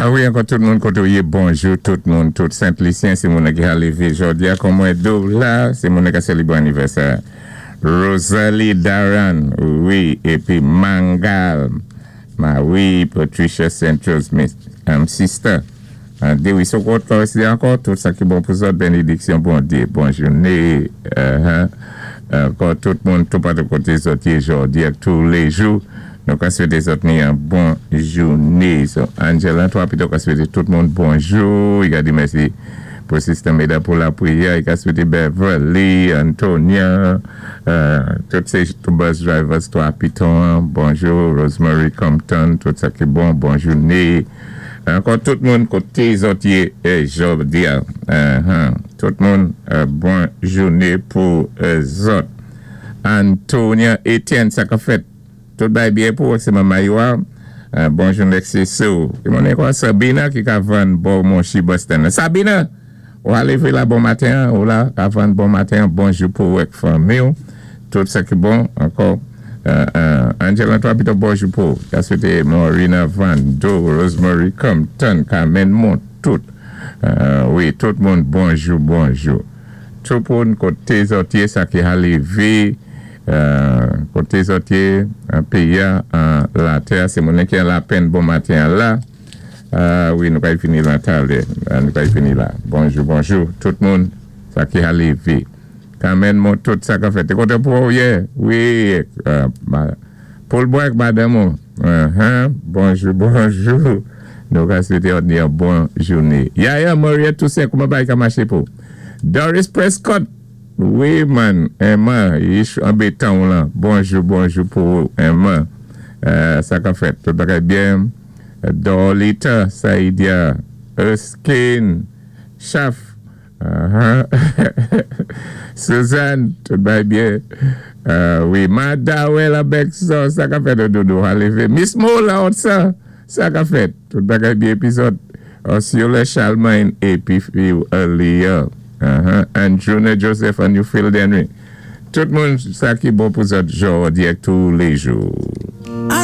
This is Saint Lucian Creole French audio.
A wi, ankò tout moun koté ou yé, bonjou tout moun, tout Sent Lisyen, sé moun ki ka lévé jòdi-a kon mwen di ou la, sé moun ka sélébwé anivèsè. Rosalie Daran, wi, épi Mangal, Marie Patricia St. Smith, sister. Dé wi, so kòt ankò, tout sa ki bon pou zòt, bénédiksyon Bondyé, bon jouné, ankò tout moun, tout patou koté zòt yé jòdi ak tou lé jou, nou ka swété zòt ni yon bon jouné. So, Angela, toi, pito ka swété tout moun bonjou, i ka di mèsi pou Sister Meda pou lapriyè, i ka swété Beverly, Antonia, tout sé tout bus drivers, toi, Piton, bonjou, Rosemary Compton, tout sa ki bon, bon jouné. Ankò tout moun koté zòt yé jòdi a. Tout moun, bon jouné pou zòt. Antonia Etienne, sa ka fèt. Tout bay byen pou sé manman yo. Bon jouné, sé sou. Ki moun kwa Sabina ki ka vann bon monchi Boston. Sabina, ou a lévé la bon maten, ou la ka vann bon maten, bonjou pou ak fanmi. Tout sa ki bon, ankò. Angela, toi, pito bonjou pou. Ka swété Maurina Vando, Rosemary Compton, Carmen Montout. Wi, tout moun, bonjou, bonjou. Tout moun koté zòt yé, sa ki a lévé, koté zòt yé, péyi an latè, sé moun ki an lapenn bon maten la. Wi, nou ka fini la talè. Nou ka fini la. Bonjou, bonjou, tout moun, sa ki a lévé. Carmen mon tout sa ka fèt. Té kontan pou ou yè? Wi, Paul Bois madanm. Bonjou, bonjou. Nou ka swété yon bon jouné. Yaya Maria Toussaint, kouman bagay ka maché pou? Doris Prescott. Wi, man. Emma, anbétan la. Bonjou, bonjou pou Emma. Sa ka fèt. Tout bagay byen. Dorlita, Saïdia, Erskine, Chaf. Suzanne, tout bagay byen. Wi, Madawel avèk sa, sa ka fèt dodo, lévé. Miss Mola, sa, sa ka fèt. Tout bagay byen épizòd. Osceola Charlemagne épi Earlier. Andrew Joseph and Newfield Henry. Tout moun, sa ki bon pou zòt jòdi tou lé jou.